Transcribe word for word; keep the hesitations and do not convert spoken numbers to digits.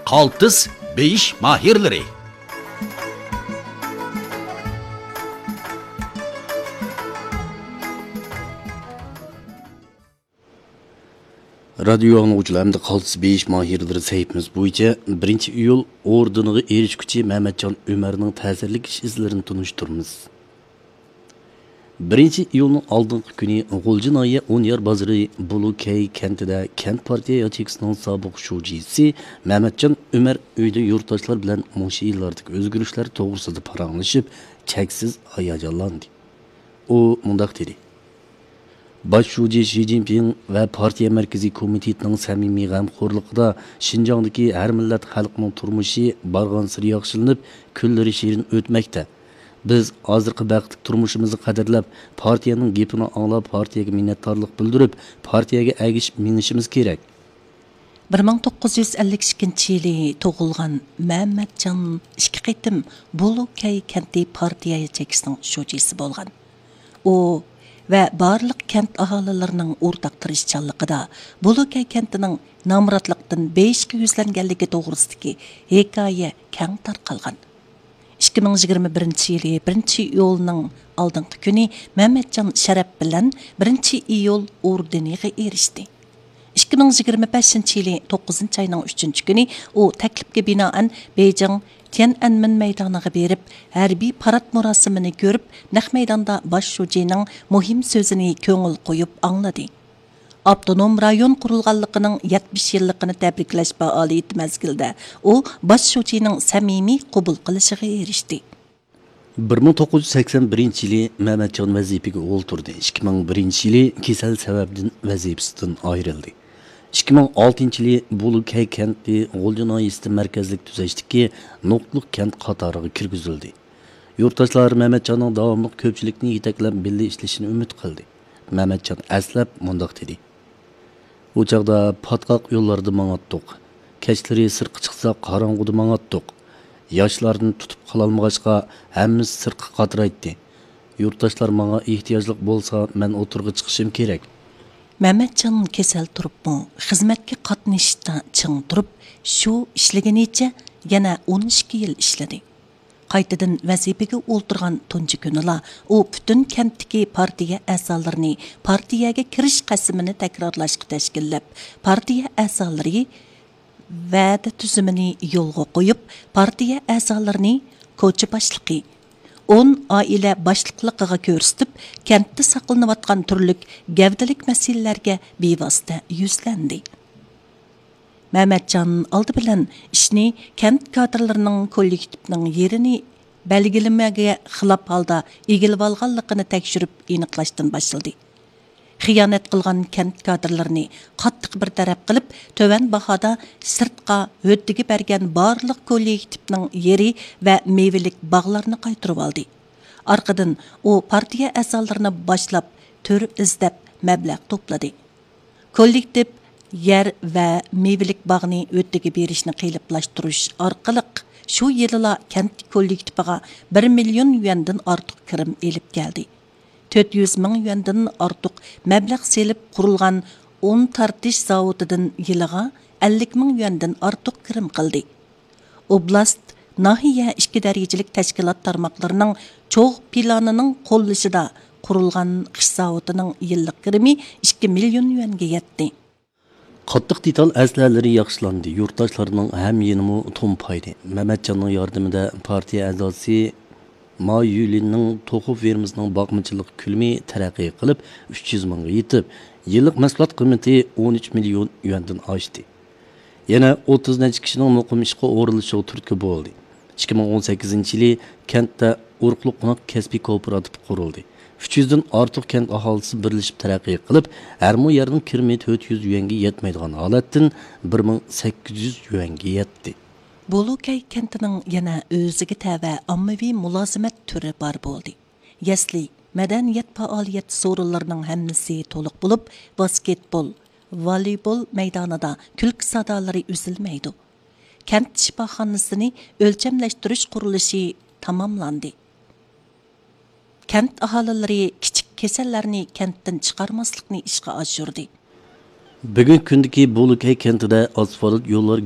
قالتىس بېيىش ماھىرلىرى. رادىيو ئاڭلىغۇچىلار، ئەمدى قالتىس بېيىش ماھىرلىرى سەھىپىمىز بويىچە بىرىنچى ئىيۇل ئوردېنىغا ئېرىشكۈچى مەمەتجان ئۆمەرنىڭ تەسىرلىك ئىش ئىزلىرىنى تونۇشتۇرىمىز. بىرىنچى ئىيۇلنىڭ ئالدىنقى كۈنى غۇلجا ناھىيە ئونيار بازىرى بۇلۇكەي كەنتىدە كەنت پارتىيە ياچېيكىسىنىڭ سابىق شۇجىسى مەمەتجان ئۆمەر ئۆيدە يۇرتداشلار بىلەن مۇشۇ يىللاردىكى ئۆزگىرىشلەر توغرىسىدا پاراڭلىشىپ، چەكسىز ھاياجانلاندى. ئۇ مۇنداق دېدى: باش شۇجى شى جىنپىڭ ۋە پارتىيە مەركىزىي كومىتېتىنىڭ سەمىمىي غەمخورلۇقىدا شىنجاڭدىكى ھەر مىللەت خەلقنىڭ تۇرمۇشى بارغانسېرى ياخشىلىنىپ، كۈنلىرى شېرىن ئۆتمەكتە. بىز ھازىرقى بەختلىك تۇرمۇشىمىزنى قەدىرلەپ، پارتىيەنىڭ گېپىنى ئاڭلاپ، پارتىيەگە مىننەتدارلىق بىلدۈرۈپ، پارتىيەگە ئەگىشىپ مېڭىشىمىز كېرەك. بىر مىڭ توققۇز يۈز ئەللىك ئىككىنچى يىلى تۇغۇلغان مەمەتجان ئىككى قېتىم بۇلۇكەي كەنتى پارتىيە ياچېيكىسىنىڭ شۇجىسى بولغان. ئۇ ۋە بارلىق كەنت ئاھالىلىرىنىڭ ئورتاق تىرىشچانلىقىدا بۇلۇكەي كەنتىنىڭ نامراتلىقتىن بېيىشقا يۈزلەنگەنلىكى توغرىسىدىكى ھېكايە كەڭ تارقالغان. ئىككى مىڭ يىگىرمە بىرىنچى يىلى بىرىنچى ئىيۇلنىڭ ئالدىنقى كۈنى مەمەتجان شەرەپ بىلەن بىرىنچى ئىيۇل ئوردېنىغا ئېرىشتى. ئىككى مىڭ يىگىرمە بەشىنچى يىلى توققۇزىنچى ئاينىڭ ئۈچىنچى كۈنى ئۇ تەكلىپكە بىنائەن بېيجىڭ تيەنئەنمېن مەيدانىغا بېرىپ، ھەربىي پارات مۇراسىمىنى كۆرۈپ، نەق مەيداندا باش شۇجىنىڭ مۇھىم سۆزىنى كۆڭۈل قويۇپ ئاڭلىدى. ئاپتونوم رايون قۇرۇلغانلىقىنىڭ يەتمىش يىللىقىنى تەبرىكلەش پائالىيىتى مەزگىلىدە ئۇ باش شۇجىنىڭ سەمىمىي قوبۇل قىلىشىغا ئېرىشتى. بىر مىڭ توققۇز يۈز سەكسەن بىرىنچى يىلى مەمەتجان ۋەزىپىگە ئولتۇردى. ئىككى مىڭ بىرىنچى يىلى كېسەل سەۋەبىدىن ۋەزىپىسىدىن ئايرىلدى. ئىككى مىڭ ئالتىنچى يىلى بۇلۇكەي كەنتى غۇلجا ناھىيەسىدە مەركەزلىك تۈزەشتىكى نۇقتىلىق كەنت قاتارىغا كىرگۈزۈلدى. يۇرتداشلار مەمەتجاننىڭ داۋاملىق كۆپچىلىكنى يېتەكلەپ بىللە ئىشلىشىنى ئۈمىد قىلدى. مەمەتجان ئەسلەپ مۇنداق دېدى: ئۇ چاغدا پاتقاق يوللاردا ماڭاتتۇق. كەچلىرى سىرتقا چىقساق، قاراڭغۇدا ماڭاتتۇق. ياشلاردىن تۇتۇپ قالالمىغاچقا، ھەممىسى سىرتقا قاترايتتى. يۇرتداشلار ماڭا ئېھتىياجلىق بولسا، مەن ئوتتۇرىغا چىقىشىم كېرەك. مەمەتجان كېسەل تۇرۇپمۇ، خىزمەتكە قاتنىشىشتا چىڭ تۇرۇپ، شۇ ئىشلىگىنىچە يەنە ئون ئىككى يىل ئىشلىدى. قايتىدىن ۋەزىپىگە ئولتۇرغان تۇنجى كۈنىلا ئۇ پۈتۈن كەنتتىكى پارتىيە ئەزالىرىنى پارتىيەگە كىرىش قەسىمىنى تەكرارلاشقا تەشكىللەپ، پارتىيە ئەزالىرى ۋەدە تۈزۈمىنى يولغا قويۇپ، پارتىيە ئەزالىرىنى كوچا باشلىقى، ئون ئائىلە باشلىقلىقىغا كۆرسىتىپ، كەنتتە ساقلىنىۋاتقان تۈرلۈك گەۋدىلىك مەسىلىلەرگە بىۋاسىتە يۈزلەندى. مەمەتجان ئالدى بىلەن ئىشنى كەنت كادىرلىرىنىڭ كوللېكتىپنىڭ يېرىنى بەلگىلىمىگە خىلاپ ھالدا ئىگىلىۋالغانلىقىنى تەكشۈرۈپ ئېنىقلاشتىن باشلىدى. خىيانەت قىلغان كەنت كادىرلىرىنى قاتتىق بىر تەرەپ قىلىپ، تۆۋەن باھادا سىرتقا ھۆددىگە بەرگەن بارلىق كوللېكتىپنىڭ يېرى ۋە مېۋىلىك باغلارنى قايتۇرۇۋالدى. ئارقىدىن ئۇ پارتىيە ئەزالىرىنى باشلاپ، تۈر ئىزدەپ مەبلەغ توپلىدى. كوللېكتىپ يەر ۋە مېۋىلىك باغنى ھۆددىگە بېرىشنى قېلىپلاشتۇرۇش ئارقىلىق، شۇ يىلىلا كەنت كوللېكتىپىغا بىر مىليون يۈەندىن ئارتۇق كىرىم ئېلىپ كەلدى. تۆت يۈز مىڭ يۈەندىن ئارتۇق مەبلەغ سېلىپ قۇرۇلغان ئۇن تارتىش زاۋۇتىدىن يىلىغا ئەللىك مىڭ يۈەندىن ئارتۇق كىرىم قىلدى. ئوبلاست، ناھىيە ئىككى دەرىجىلىك تەشكىلات تارماقلىرىنىڭ چوغ پىلانىنىڭ قوللىشىدا قۇرۇلغان خىش زاۋۇتىنىڭ يىللىق كىرىمى ئىككى مىليون يۈەنگە يەتتى. قاتتىق دېتال ئەسلىھەلىرى ياخشىلاندى. يۇرتداشلارنىڭ ھەميېنىمۇ تومپايدى. مەمەتجاننىڭ ياردىمىدە پارتىيە ئەزاسى ما يۈلىننىڭ توخۇ فېرمىسىنىڭ باقمىچىلىق كۆلىمى تەرەققىي قىلىپ، ئۈچ يۈز مىڭغا يېتىپ، يىللىق مەھسۇلات قىممىتى ئون ئۈچ مىليون يۈەندىن ئاشتى. يەنە ئوتتۇز نەچچە كىشىنىڭ مۇقىم ئىشقا ئورۇنلىشىشىغا تۈرتكە بولدى. ئىككى مىڭ ئون سەككىزىنچى يىلى كەنتتە ئورۇقلۇق قوناق كەسپىي كوپىراتىپى قۇرۇلدى. ئۈچ يۈزدىن ئارتۇق كەنت ئاھالىسى بىرلىشىپ تەرەققىي قىلىپ، ھەر مو يەرنىڭ كىرىمى تۆت يۈز يۈەنگە يەتمەيدىغان ھالەتتىن بىر مىڭ سەككىز يۈز يۈەنگە يەتتى. بولۇكەي كەنتىنىڭ يەنە ئۆزىگە تەۋە ئاممىۋى مۇلازىمەت تۈرى بار بولدى. يەسلى، مەدەنىيەت پائالىيەت سورۇنلىرىنىڭ ھەممىسى تولۇق بولۇپ، ۋاسكېتبول، ۋالىبول مەيدانىدا كۈلكە سادالىرى ئۈزۈلمەيدۇ. كەنت شىپاخانىسىنى ئۆلچەملەشتۈرۈش قۇرۇلۇشى تاماملاندى. كەنت ئاھالىلىرى كىچىك كېسەللەرنى كەنتتىن چىقارماسلىقنى ئىشقا ئاشۇردى. بۈگۈنكى كۈندىكى بولۇكەي كەنتىدە ئاسفالت يوللار